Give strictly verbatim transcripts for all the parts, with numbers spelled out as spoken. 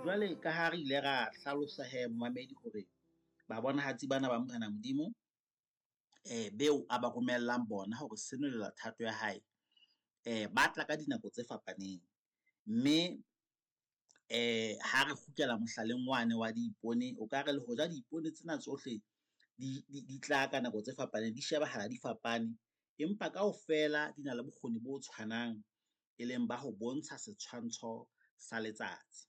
Jwale ka ha re ile ra hlalosa hee momamedi hore babonahatsi bana ba Morena Modimo beo a ba romellang bona hore senolela thato ya hae, ba tla ka dinako tse fapaneng. Mme ha re kgutlela mohlaleng wane wa diipone, o ka re le hoja diipone tsena tsohle di tla ka nako tse fapaneng, di shebahala di fapane, empa kaofela di na le bokgoni bo tshwanang, e leng ba ho bontsha setshwantsho sa letsatsi.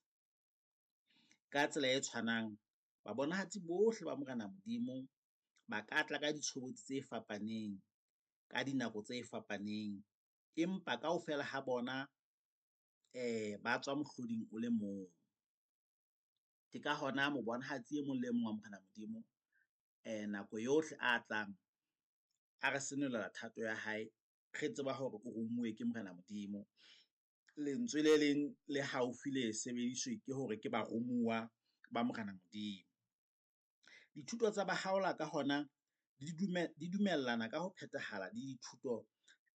Ka tsela e tshwanang, babonahatsi bohle ba Morena Modimo ba ka tla ka ditshobotsi tse fapaneng, ka dinako tse fapaneng, empa kaofela ha bona ba tswa mohloding o le mong. Ke ka hona mobonahatsi e mong le mong wa Morena Modimo nako yohle a tlang a re senolela thato ya hae, re tseba hore o romuwe ke Morena Modimo. Lentswe le leng le haufi le sebediswe ke hore ke baromuwa ba Morena Modimo. Dithuto tsa Bahaola ka hona di dumellana ka ho phethahala le dithuto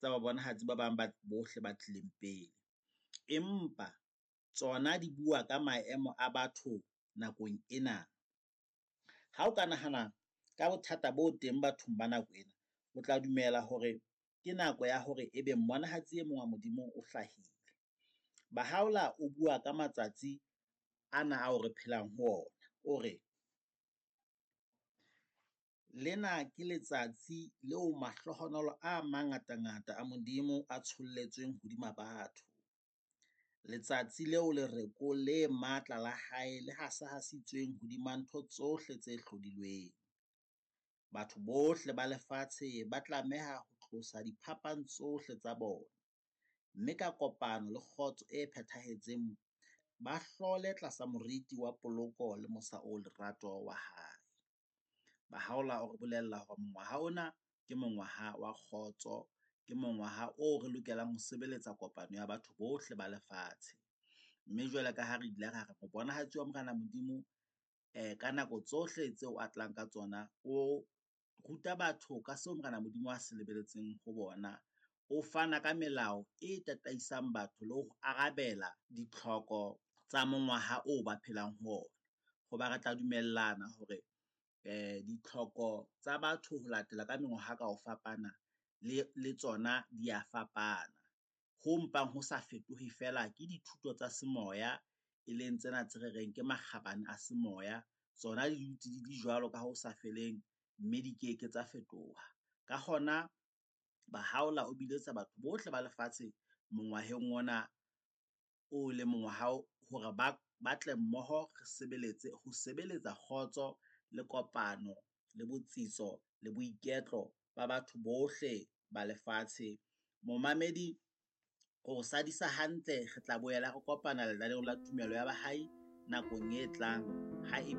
tsa babonahatsi ba bang ba bohle ba tlileng pele, empa tsona di bua ka maemo a batho nakong ena. Ha o ka nahana ka bothata bo teng bathong ba nako ena, o tla dumela hore ke nako ya hore ebe mmonahatsi e mong wa Modimo o hlahile. Bahaola o bua ka matsatsi ana ao re phelang ho ona, o re, "Lena ke letsatsi leo mahlohonolo a mangatangata a Modimo a tsholletsweng hodima batho, letsatsi leo lereko le matla la Hae le hasahasitsweng hodima ntho tsohle tse hlodilweng. Batho bohle ba lefatshe ba tlameha ho tlosa diphapang tsohle tsa bona, mme ka kopano le kgotso e phethahetseng ba hlole tlasa moriti wa poloko le mosa o lerato wa Hae." Bahaola o re bolella hore mongwaha ona ke mongwaha wa kgotso, ke mongwaha oo re lokelang ho sebeletsa kopano ya batho bohle ba lefatshe. Mme jwale ka ha re ile ra re mobonahatsi wa Morena Modimo ka nako tsohle tseo a tlang ka tsona, o ruta batho ka seo Morena Modimo a se lebelletseng ho bona, o fana ka melao e tataisang batho le ho arabela ditlhoko tsa mongwaha oo ba phelang ho ona. Ho ba re tla dumellana hore ditlhoko tsa batho ho latela ka mengwaha ka ho fapana le tsona di a fapana. Ho mpang ho sa fetohe feela ke dithuto tsa semoya, e leng tsena tse re reng ke makgabane a semoya, tsona di dutse di le jwalo ka ho sa feleng, mme di ke ke tsa fetoha. Ka hona Bahaola o biletsa batho bohle ba lefatshe mongwaheng ona o leng mongwaha hore ba tle mmoho re sebeletse ho sebeletsa kgotso le kopano le botsitso le boiketlo ba batho bohle ba lefatshe. Momamedi o sadisa hantle, re tla boela re kopana lenaneong la Tumelo ya Bahai nakong e tlang ha ebe.